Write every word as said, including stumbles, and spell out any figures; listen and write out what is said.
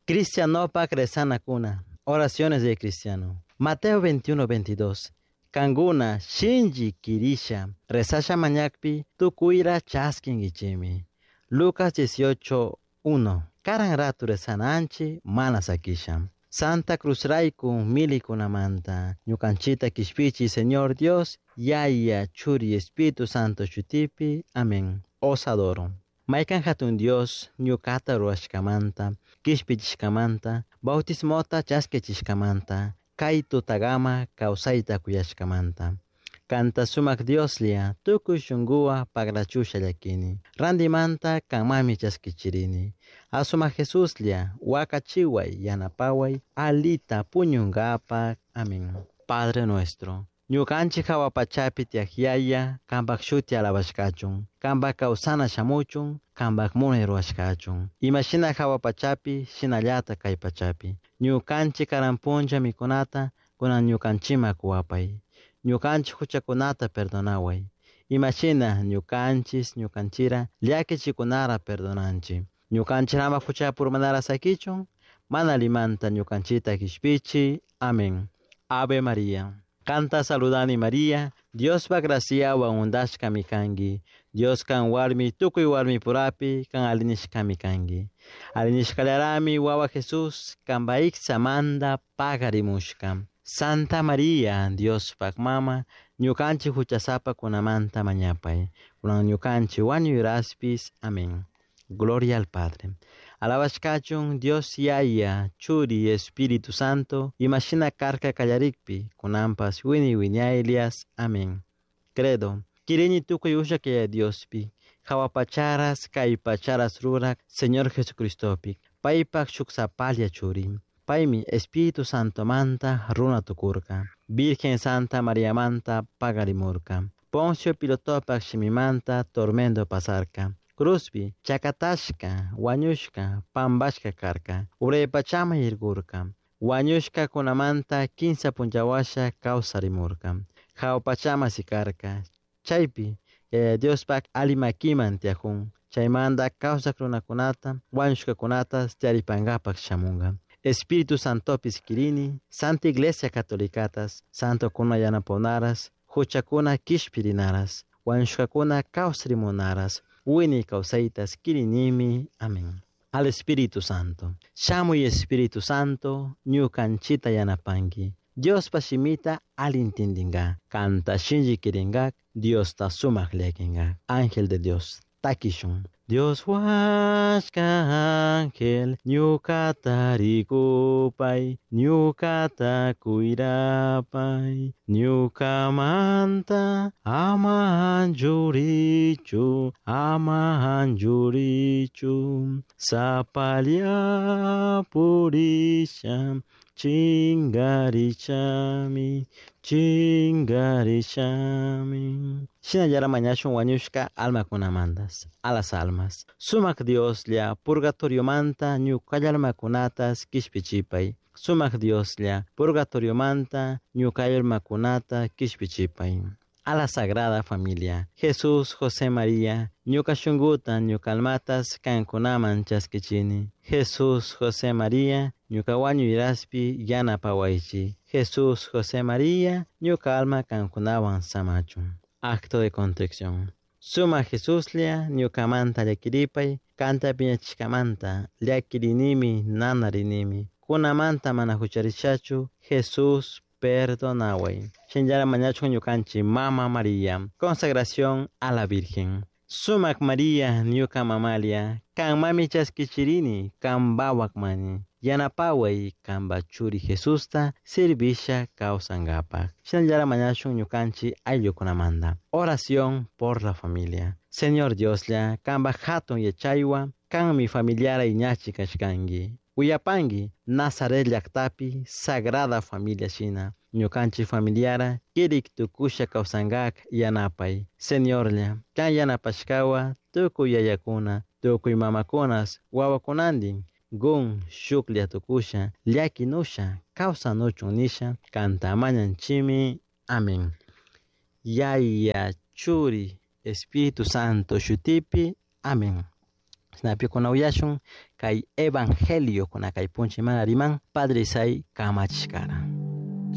Cristianopak rezanakuna. Oraciones de cristiano. Mateo veintiuno veintidós. Kanguna shinji kirisha rezasha mañakpi tukuira chaskingichimi. Lucas dieciocho uno. Karan ratu rezananchi mana sakisha. Santa Cruz raiku milikunamanta. Ñukanchita kishpichi Señor Dios, Yaya, Churi, Espíritu Santo chutipi. Amén. Os adoro. Maikan hatun Dios, ñukata ruashkamanta, kishpichishkamanta, bautismota chaskechishkamanta, kay tutagama kawsayta kuyashkamanta. Kanta sumak Dioslia, tukuy shunguwa pagrachusha llakini. Randimanta kanmami chaskichirini. Asuma Jesuslia, wakachiway yanapaway, alita puñungapak. Amén. Padre nuestro. Ñukanchik hawa pachapi tiyak yaya, kanpak shuti alabashkachun, kanpak kawsana shamuchun, kanpak munay ruwashkachun. Imashina hawa pachapi, shinallata kay pachapi. Ñukanchik karan punlla mikunata, kunan ñukanchima kuwapay. Ñukanchik huchakunata perdonaway. Imashina ñukanchis, ñukanchira, llakichikunara perdonanchi. Ñukanchik ama huchapurmanara sakichun, mana limanta ñukanchita kishpichi. Amén. Ave María. Kanta saludani María, Dios va gracia wa undashka mikangi. Dios kan warmi tukuy warmi purapi kan alinishka mikangi. Alinishkalarami wawa Jesús kan baiksa manda pagarimushka. Santa María, Dios pak mama, ñukanchi huchasapa kunamanta mañapay. Kunan ñukanchi wañuyraspis. Amén. Gloria al Padre. Alabashkachun Dios Yaya, Churi, Espíritu Santo, imashina karka kallarikpi, kunampas wini wiñaylias. Amén. Credo. Kirini tukuy ushakaya Diospi, hawapacharas, kaypacharas rurak, Señor Jesucristopi, paypak shuksapalia churi. Paymi Espíritu Santo manta runa tukurka, Virgen Santa María manta pagarimurka, Poncio Pilotopak shimimanta tormento pasarka. Cruzpi, chakatashka, wañushka, pambashka karka, uraypachama yirgurka, wañushka kunamanta kinsa punchawasha kawsarimurka, hawpachama sikarka, chaypi, Yaya Diospak alimakiman tiajun, chaymanta kawsak runakunata, wañushkakunata tiaripangapak shamunga. Espíritu Santopis kirini, Santa Iglesia Catolicatas, Santo kuna yanaponaras, huchakuna kishpirinaras, wañushkakuna kawsarimunaras, Wini kawsaytas kirinimi. Amén. Al Espíritu Santo. Shamuy Espíritu Santo, ñukanchita yanapanki. Dios pashimita alintindinga. Kanta shinji kiringa, Dios ta sumak lekinga. Ángel de Dios, takishun. Dios huasca ángel, ñukata rikupay, ñukata kuirapay, ñukamanta ama anchurichu, ama anchurichu, sapalia purisha, chingarichami, chingarichami. Shinallara mañashun wañushka almakunamantas, a las almas. Sumak Dioslla, purgatorio manta, ñukallarmakunatas kishpichipay. Sumak Dioslla, purgatorio manta, ñukallarmakunata kishpichipay. A la Sagrada Familia, Jesús, José, María, ñuka shunguta, ñukalmatas, kankunaman chaskichini. Jesús, José, María, ñuka wañuyraspi, yanapawaychi. Jesús, José, María, ñuka alma kankunawan samachun. Acto de contrición. Suma Jesuslia, ñukamanta llakiripay, kanta piñachishkamanta, llakirinimi, nanarinimi. Kunamanta mana hucharishachu, Jesús, perdonaway. Shinllara mañachun ñukanchi, Mama María. Consagración a la Virgen. Sumak María, ñuka mamalia, kan mami chaskichirini, kan bawak mani. Yanapaway, kanba churi Jesusta, sirvisha kawsangapak. Shinallara mañashun ñukanchi ayllukunamanta. Oración por la familia. Señor Dioslla, kanba hatun yachaywa, kan mi familiara iñachi kashkangi. Uyapangi, Nazaret llaktapi, Sagrada Familia shina. Ñukanchi familiara, kirik tukusha kawsangak yanapay. Señorlla, kan yanapashkawa, tukuy yayakuna, tukuy mamakunas, wawakunandin, gun shuklla tukusha, llakinusha, kawsanuchun nisha, kantamañanchimi. Amén. Yaya, Churi, Espíritu Santo shutipi. Amén. Shinapi kuna uyashun kay evangelio kuna kay puncha imana riman Padre Isai kamachishkara.